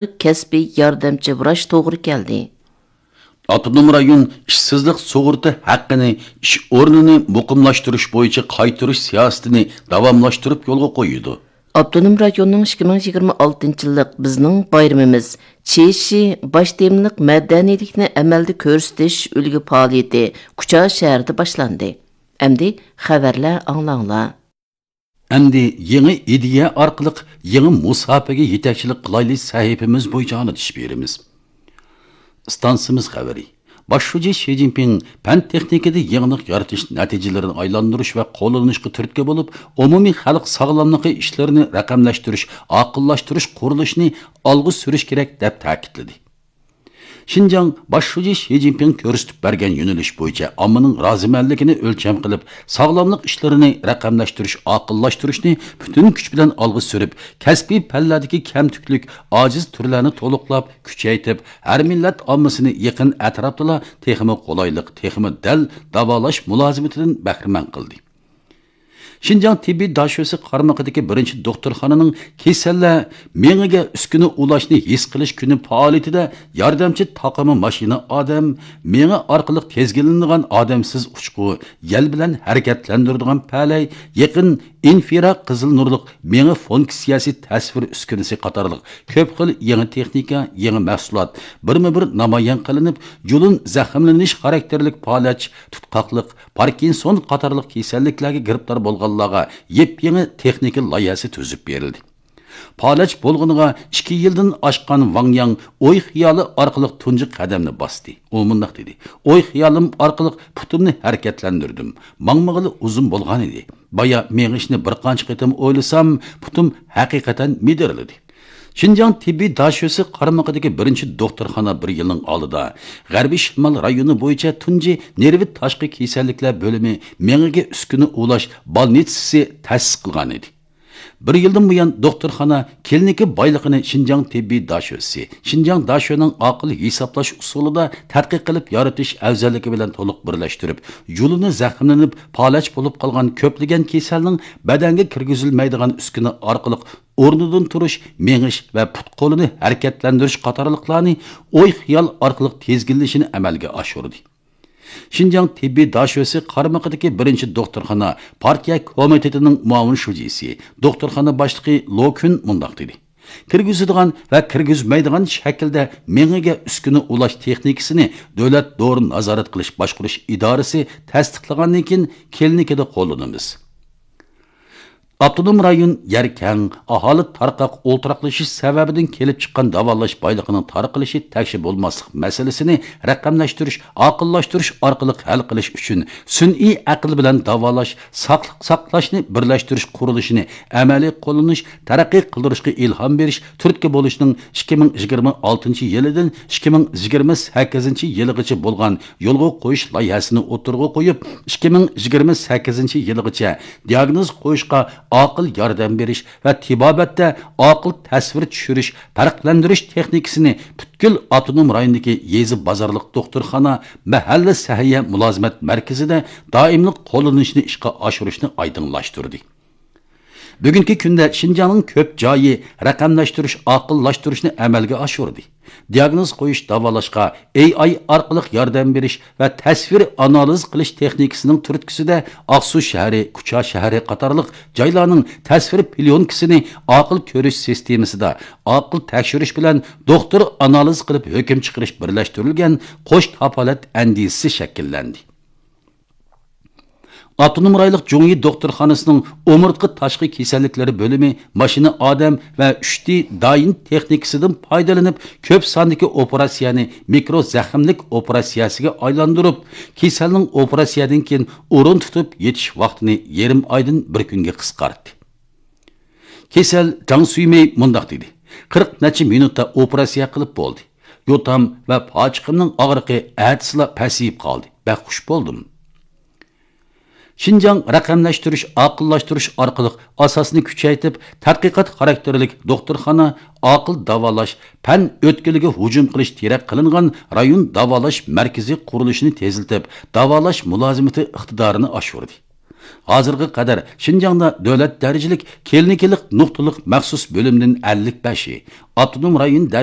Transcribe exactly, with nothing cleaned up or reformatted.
كەسپىي ياردەمچى ۋراچ توغرا كەلدى. ئاپتونوم رايون ئىشسىزلىق سۇغۇرتا ھەققىنى ئىش ئورنىنى مۇقىملاشتۇرۇش بويىچە قايتۇرۇش سىياسىتىنى داۋاملاشتۇرۇپ يولغا قويىدۇ. ئاپتونوم رايوننىڭ ئىككى مىڭ يىگىرمە ئالتىنچى يىللىق بىزنىڭ بايرىمىمىز، چېشى باش تېمىلىق مەدەنىيلىكنى ئەمەلدە كۆرسىتىش ئۈلگە پائالىيىتى كۇچا شەھىرىدە باشلاندى. ئەمدى خەۋەرلەر ئاڭلاڭلار. ئەمدى يېڭى ئىدىيە ئارقىلىق يېڭى مۇساپىگە يېتەكچىلىك قىلايلى سەھىپىمىز بويىچە ئاڭلىتىش بېرىمىز. ئىستانسىمىز خەۋىرى. باش شۇجى شى جىنپىڭ پەن تېخنىكىدا يېڭىلىق يارىتىش نەتىجىلىرىنى ئايلاندۇرۇش ۋە قوللىنىشقا تۈرتكە بولۇپ، ئومۇمىي خەلق ساغلاملىقى ئىشلىرىنى رەقەملەشتۈرۈش، ئاقىللاشتۇرۇش قۇرۇلۇشىنى ئالغا سۈرۈش كېرەك، دەپ تەكىتلىدى. شىنجاڭ باش شۇجى شى جىنپىڭ كۆرسىتىپ بەرگەن يۆنىلىش بويىچە ئاممىنىڭ رازىمەنلىكىنى ئۆلچەم قىلىپ، ساغلاملىق ئىشلىرىنى رەقەملەشتۈرۈش، ئاقىللاشتۇرۇشنى پۈتۈن كۈچ بىلەن ئالغا سۈرۈپ، كەسپىي پەنلەردىكى كەمتۈكلۈك، ئاجىز تۈرلەرنى تولۇقلاپ، كۈچەيتىپ، ھەر مىللەت ئاممىسىنى يېقىن ئەتراپتىلا تېخىمۇ قولايلىق، تېخىمۇ دەل داۋالاش مۇلازىمىتىدىن بەھرىمەن قىلدى. شىنجاڭ تېببىي داشۆسى قارمىقىدىكى بىرىنچى دوختۇرخانىنىڭ كېسەللەر مېڭىگە ئۈسكۈنە ئۇلاشنى ھېس قىلىش كۈنى پائالىيىتىدە ياردەمچى تاقىمى ماشىنا ئادەم مېڭە ئارقىلىق تىزگىنلىنىدىغان ئادەمسىز ئۇچقۇ، يەل بىلەن ھەرىكەتلەندۈرىدىغان پەلەي، يېقىن ئىنفرا قىزىل نۇرلۇق مېڭە فۇنكسىيەسى تەسۋىر ئۈسكۈنىسى قاتارلىق كۆپ خىل يېڭى تېخنىكا، يېڭى مەھسۇلات بىرمۇ بىر نامايان قىلىنىپ، جۇلۇن زەخىملىنىش خاراكتېرلىك پالەچ، تۇتقاقلىق، پاركىنسون قاتارلىق كېسەللىكلەرگە گىرىپتار بولغانلارغا يېپيېڭى تېخنىكا لايىھەسى تۈزۈپ بېرىلدى. پالەچ بولغىنىغا ئىككى يىلدىن ئاشقان ۋاڭ ياڭ ئوي خىيالى ئارقىلىق تۇنجى قەدەمنى باستى. ئۇ مۇنداق دېدى: ئوي خىيالىم ئارقىلىق پۇتۇمنى ھەرىكەتلەندۈردۈم. ماڭمىغىلى ئۇزۇن بولغانىدى. بايا مېڭىشنى بىر قانچە قېتىم ئويلىسام، پۇتۇم ھەقىقەتەن مىدىرلىدى. شىنجاڭ تېببىي داشۆسى قارمىقىدىكى بىرىنچى دوختۇرخانا بىر يىلنىڭ ئالدىدا غەربىي شىمال رايونى بويىچە تۇنجى نېرۋا تاشقى كېسەللىكلەر بۆلۈمى، مېڭىگە ئۈسكۈنە ئۇلاش بالنىتسىسى تەسىس قىلغانىدى. بىر يىلدىن بۇيان، دوختۇرخانا كلىنىكا بايلىقىنى شىنجاڭ تېببىي داشۆسى، شىنجاڭ داشۆنىڭ ئاقىل ھېسابلاش ئۇسۇلىدا تەتقىق قىلىپ يارىتىش ئەۋزەللىكى بىلەن تولۇق بىرلەشتۈرۈپ، جۇلۇنى زەخىملىنىپ، پالەچ بولۇپ قالغان كۆپلىگەن كېسەلنىڭ بەدەنگە كىرگۈزۈلمەيدىغان ئۈسكۈنە ئارقىلىق ئورنىدىن تۇرۇش، مېڭىش ۋە پۇت-قولىنى ھەرىكەتلەندۈرۈش قاتارلىقلارنى ئوي-خىيال ئارقىلىق تىزگىنلىشىنى ئەمەلگە ئاشۇردى. شىنجاڭ تېببىي داشۆسى قارمىقىدىكى بىرىنچى دوختۇرخانا پارتىيە كومىتېتىنىڭ مۇئاۋىن شۇجىسى، دوختۇرخانا باشلىقى لو كۈن مۇنداق دېدى: كىرگۈزىدىغان ۋە كىرگۈزمەيدىغان شەكىلدە مېڭىگە ئۈسكۈنە ئۇلاش تېخنىكىسىنى دۆلەت دورا نازارەت قىلىش باشقۇرۇش ئىدارىسى تەستىقلىغاندىن كېيىن كلىنىكىدا قوللىنىمىز. ئاپتونوم رايون يەر كەڭ، ئاھالە تارقاق ئولتۇراقلىشىش سەۋەبىدىن كېلىپ چىققان داۋالاش بايلىقىنىڭ تارقىلىشى تەكشى بولماسلىق مەسىلىسىنى رەقەملەشتۈرۈش، ئاقىللاشتۇرۇش ئارقىلىق ھەل قىلىش ئۈچۈن سۈنئىي ئەقىل بىلەن داۋالاش، ساقلىق ساقلاشنى بىرلەشتۈرۈش قۇرۇلۇشىنى ئەمەلىي قوللىنىش، تەرەققىي قىلدۇرۇشقا ئىلھام بېرىش تۈرتكە بولۇشنىڭ ئىككى مىڭ يىگىرمە ئالتىنچى يىلىدىن ئىككى مىڭ يىگىرمە سەككىزىنچى يىلىغىچە بولغان يولغا قويۇش لايىھەسىنى ئوتتۇرىغا قويۇپ، ئىككى مىڭ يىگىرمە سەككىزىنچى يىلىغىچە دىئاگنوز قويۇشقا ئاقىل ياردەم بېرىش ۋە تېبابەتتە ئاقىل تەسۋىر چۈشۈرۈش، پەرقلەندۈرۈش تېخنىكىسىنى پۈتكۈل ئاپتونوم رايوندىكى يېزا بازارلىق دوختۇرخانا، مەھەللە سەھىيە مۇلازىمەت مەركىزىدە دائىملىق قوللىنىشنى ئىشقا ئاشۇرۇشنى ئايدىڭلاشتۇردى. بۈگۈنكى كۈندە شىنجاڭنىڭ كۆپ جايى رەقەملەشتۈرۈش، ئاقىللاشتۇرۇشنى ئەمەلگە ئاشۇردى. دىئاگنوز قويۇش، داۋالاشقا ئېي ئاي ئارقىلىق ياردەم بېرىش ۋە تەسۋىر ئانالىز قىلىش تېخنىكىسىنىڭ تۈرتكىسىدە ئاقسۇ شەھىرى، كۇچا شەھىرى قاتارلىق جايلارنىڭ تەسۋىر پليونكىسىنى ئاقىل كۆرۈش سىستېمىسىدا ئاقىل تەكشۈرۈش بىلەن دوختۇر ئانالىز قىلىپ ھۆكۈم چىقىرىش بىرلەشتۈرۈلگەن قوش كاپالەت ئەندىزىسى شەكىللەندى. ئاپتونوم رايونلۇق جۇڭيى دوختۇرخانىسىنىڭ ئومۇرتقا تاشقى كېسەللىكلىرى بۆلۈمى ماشىنا ئادەم ۋە ئۈچ دى دايىن تېخنىكىسىدىن پايدىلىنىپ، كۆپ ساندىكى ئوپېراتسىيەنى مىكرو زەخىملىك ئوپېراتسىيەسىگە ئايلاندۇرۇپ، كېسەلنىڭ ئوپېراتسىيەدىن كېيىن ئورۇن تۇتۇپ يېتىش ۋاقتىنى يېرىم ئايدىن بىر كۈنگە قىسقارتتى. كېسەل جاڭ سۈيمېي مۇنداق دېدى: قىرىق نەچچە مىنۇتتا ئوپېراتسىيە قىلىپ بولدى. يوتام ۋە پاچىقىمنىڭ ئاغرىقى ئەتىسىلا پەسىيىپ قالدى. بەك خۇش بولدۇم. شىنجاڭ رەقەملەشتۈرۈش، ئاقىللاشتۇرۇش ئارقىلىق ئاساسنى كۈچەيتىپ، تەتقىقات خاراكتېرلىك دوختۇرخانا، ئاقىل داۋالاش، پەن ئۆتكىلىگە ھۇجۇم قىلىش تىرەك قىلىنغان رايون داۋالاش مەركىزى قۇرۇلۇشىنى تېزلىتىپ، داۋالاش مۇلازىمىتى ئىقتىدارىنى ئاشۇردى. ھازىرغا قەدەر شىنجاڭدا دۆلەت دەرىجىلىك كلىنىكىلىق نۇقتىلىق مەخسۇس بۆلۈمدىن ئەللىك بەشى، ئاپتونوم رايون دەرىجىلىك